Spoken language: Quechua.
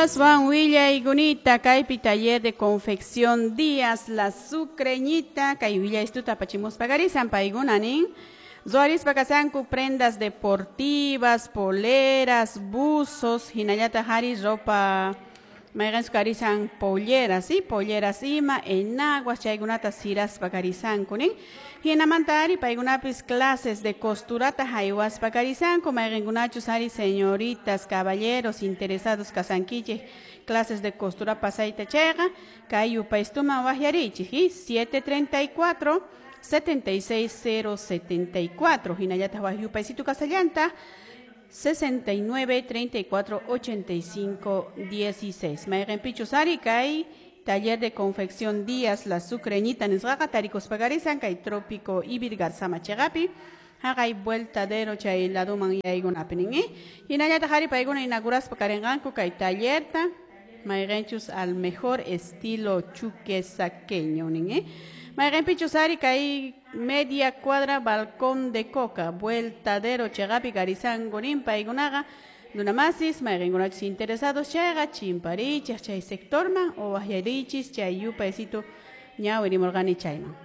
Aswan willaykunita kaypi taller de confección Díaz La Sucreñita kay willaystuta apachimuspa karisan paykuna nin ruwarispa kasanku prendas deportivas, poleras, buzos, hinallataq ari ropa mayqanchus karisan polleras, ¿sí? Polleras ima, enaguas chaykunata siraspa karisanku nin. Hinamanta ari paykunapis clases de costurata haywaspa karisanku mayqinkunachus ari señoritas, caballeros interesados kasankichik clases de costura pasayta chayqa kay yupaystuman waqyarichik, ¿sí? 734 76074 hinallataq waq yupaysitu kasallanta 69 34 85 16. Mayqinpichus ari kay taller de confección Díaz La Sucreñita nisqaqa tarikuspa karisan kay Trópico Ivirgarzama chiqapi haqay vueltadero chay laduman yaykunapi nin, ¿eh? Hinallataq ari paykuna inauguraspa karinqanku kay tallerta mayqinchus al mejor estilo chuquesaqueño nin, ¿eh? Mayqinpichus ari kay media cuadra balcón de coca vueltadero chiqapi karisanku nin paykunaqa runamasis mayqinkunachus interesados chayqa chimparichik chay sectorman o waqyarichis chay yupaysitu ñawirimurqani chayman.